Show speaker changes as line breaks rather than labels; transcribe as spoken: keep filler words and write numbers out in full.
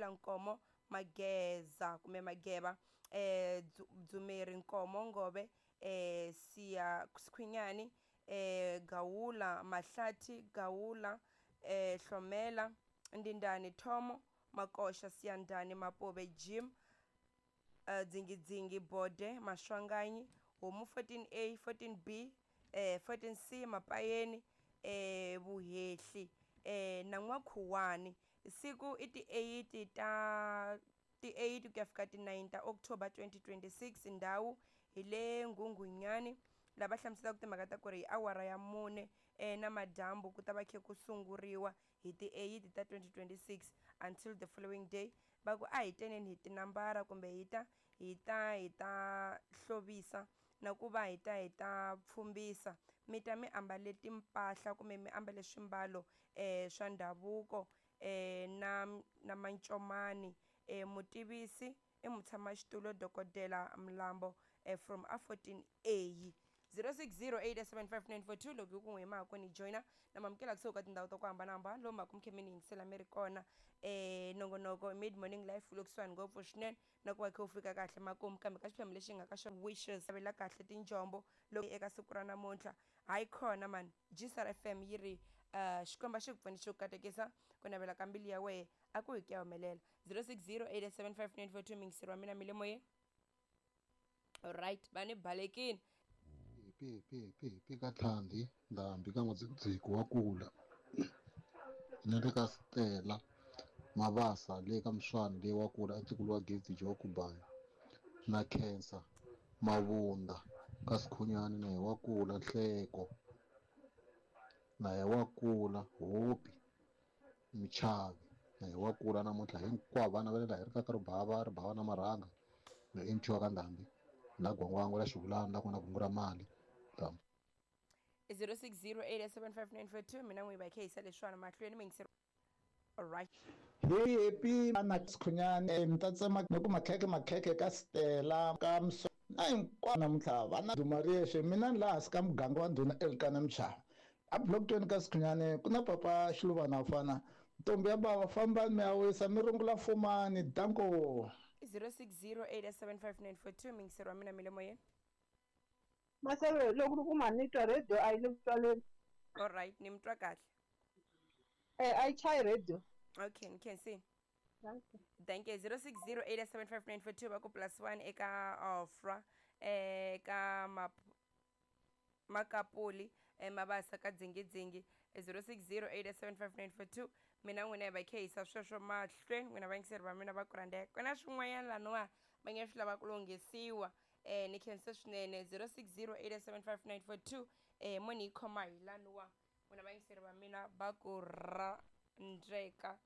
Gawula Nkomo Mageza kumbe Mageva eh Dzumeri Nkomo Ngove eh Siya Sikhwinyani eh Gawula Mahlathi Gawula eh Hlomela Ndindani Thomo Makoxa Siyandhani Mapobe Jim uh, Dzingidzingi Bode Maswanganyi Homu fourteen A fourteen B eh fourteen C Mapayeni eh Vuhehli eh na N'wakhuwani. Siku i ti eight ta ti eight ku ya fika ti nine ta October twenty twenty-six. Ndhawu hi le Nghunghunyani lava hlamuselaka timhaka ta ku ri hi awara ya mune eh, na madyambu ku ta va khe ku sunguriwa hi ti eight ta twenty twenty-six until the following day. Va ku a hi teneni hi tinambara kumbe hi ta hi ta hi ta hlovisa na ku va hi ta hi ta pfhumbisa, mi ta mi ambale timpahla kumbe mi ambale swimbalo eh, swa ndhavuko eh, na na mancomani. eh, mutivisi i mutshamaxitulu Dokodela Mlambo eh, from A fourteen A. zero six zero eight seven five nine four two loko hi ku n'wi hi ni joina na mamukela kusuka ka tindhawu ta ku hambanahambana lomu mhaka mi ni yingisela mi ri kona eh nongonoko mid morning life wu le kusuhani ngopfu swinene na ku va kha u fika kahle makumu kambe ka xiphemu lexi nga ka xona wishes avela kahle tinjombo loko eka siku ra namuntlha hayi khona mani G S R F M yi ri uh, Xikwembu xi ku pfuni xi ku katekisa ku navela ka mbilu ya wehe a ku hi ku ya humelela. Zero six zero eight seven five nine four two mingiseri wa mina mi le moyeni. Alright, va ni balekini.
P P P P ka Tlhandi Ndhambi ka N'wadzikudziku wa kula na le ka Stella Mabasa le ka Mswani le wa kula ntukulu wa Gezi Jo Kubaya na Khensa Mavunda ka Sikhunyani na hi wa kula Nhleko na hi wa kula Hopi Michavi na hi wa kula namuntlha hinkwavo vana va le laha hi ri ka ribava ribava na marhanga na emchiwa ka Ndhambi la gwangwango la xivulana la kona kungu ra mali.
Zero six zero eight seven five nine four two mina n'wi va khe yisa leswiwani mahlweni mi yingiseri. Alright.
Hey happy na Sikhunyani mi ta tsema ni ku makheke makheke ka Stella ka Mso na hinkwavo namuntlha vana Dumariyexe mina ni laha hansi ka muganga wa ndhuna Elkana Mchava a block twenty ka Sikhunyani ku na papa Xiluvana fana ntombi ya bava fambani mi ya wisa mi rungula fumani danko.
Zero six zero eight seven five nine four two mingiseri wa mina mi le moyeni.
Maseve loko ku ma ni twa radio a yi le ku twaleni.
Alright, ni mi twa kahle.
Eh a yi chayi radio.
Okay, ni khensini.
Thank you.
Thank you. Zero six zero eight seven five nine four two va ku plus one eka Ofra eh ka map Makapuli eh Mabasa ka Dzingidzingi zero six zero eight seven five nine four two mina n'wina hi va khe yisa sweswo mahlweni n'wina vayingiseri va mina va ku rhandzeka ku na swin'wanyana laniwa va nge swi lava ku lunghisiwa eh ni khensa swinene zero six zero eight seven five nine four two eh mo ni yi khoma hi laniwa n'wina vayingiseri va mina va ku rhandzeka.